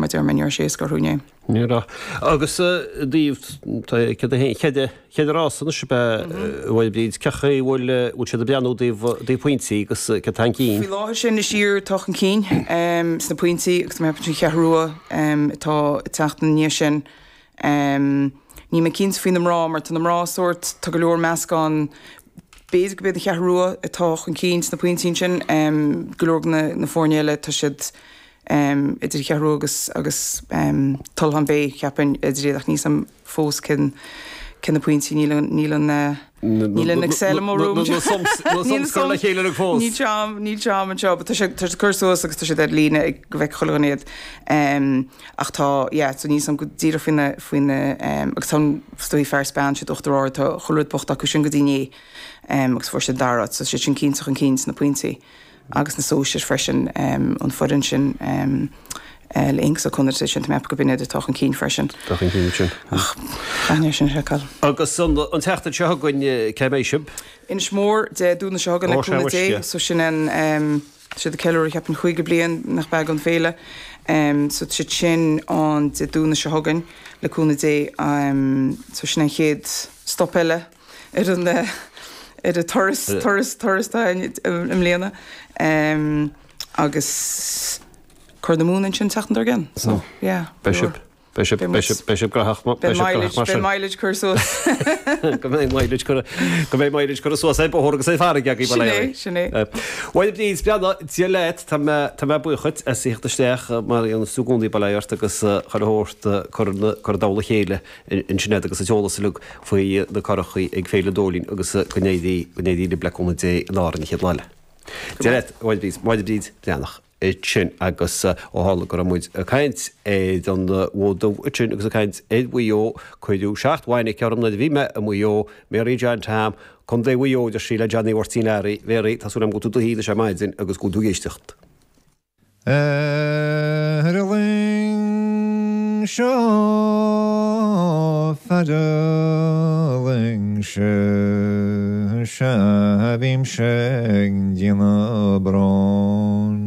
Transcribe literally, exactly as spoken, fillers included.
mar deir mé ní raibh sé éasca orthu inné. Ní raibh. Agus daoibh, tá céad a haon, céad, céad rás anois ab ea, a Mháire Bríd, cén chaoi a bhfuil, bhfuil siad ag breathnú i dtaobh, i dtaobh pointí agus cé atá chun cinn? Faoi láthair sin is Iar atá chun cinn sna pointí agus tá mé ag ceapadh an Cheathrú Rua atá ag teacht ina ndiaidh sin. Níl mé cinnte faoi na mná mar tá na mná sórt, tá go leor meascán, b'fhéidir go b'iad an Cheathrú Rua atá chun cinn sna pointí ansin, go leor de na foirne eile tá siad idir an Cheathrú Rua agus agus Tulachán Bé cheapfainn idir iad ach níl a fhios agam fós cén cé na pointí níl an níl an níl an Excel i mo room. Na sums na sums curtha le chéile uilig fós. Níl sé a'm níl sé a'm anseo but tá sé tá sé curtha suas agus tá siad ar líne ag go bhfeicfidh chuile dhuine iad. Ach tá yeah so níl a fhios agam go díreach faoi na faoi na agus tá an is dóigh fear is bean siad Uachtar Ard tá chuile rud buachta acu sin go dtí inné agus fuair siad an dara háit so siad sin cinnte chun cinn sna pointí. agus na sóisir freisin, an foireann sin le Aonghus Ó Conaire sin, tá mé ag ceapadh go b'in iad atá chun cinn freisin. Tá chun cinn ansin. Ach caithfidh mé sin a sheiceáil. Agus an tseachtain seo chugainn, cé mbeidh sibh? Inis Mór, Dé Domhnaigh seo chugainn le cúnamh Dé. So sin an, tá siad ag ceiliúradh cheapfainn caoga bliain nach b'ea den féile. So tá siad sin ann Dé Domhnaigh seo chugainn le cúnamh Dé. So sin an chéad stop eile. ar an ar an turas turas turas atá i mbliana agus Corr na Móna ansin an tseachtain dár gcionn so yeah Beidh sibh beidh sibh beidh sibh beidh sibh graitheach beidh sibh graitheach mar sin. Beidh mileage curtha suas. Go mbeidh mileage curtha go mbeidh mileage curtha suas ar bóthar agus ar farraige agaibh Sin é sin é. Bhuel Bríd Breathnach Dia leat tá mé tá mé buíoch dhuit as a theacht isteach mar a dhéanas tú i gcónaí bail ó Dhia ort agus chuile shórt cur cur i dtoll a chéile ansin agat agus an t-eolas uilig faoi na curachaí ag Féile Dóilín agus go n-éirí go n-éirí libh le cúnamh Dé in Árainn an chéad lá eile. Dia leat, a Mháire Bríd, Máire Bríd Breathnach ansin agus ó tharla go raibh muid ag caint ar an bhFód Dubh ansin agus ag caint ar Mhaigh Eo, cuireadh seacht bhfainic orm nuair a bhí mé i Maigh Eo, Mary John Tom, Contae Mhaigh Eo, deir sí le Johnny Mháirtín Learaí, Mary, tá súil agam go bhfuil tú i do shuí anois ar maidin agus go bhfuil tú ag éisteacht. Ar an luing seo fear an luing seo sea bhímse ag déanamh bróin.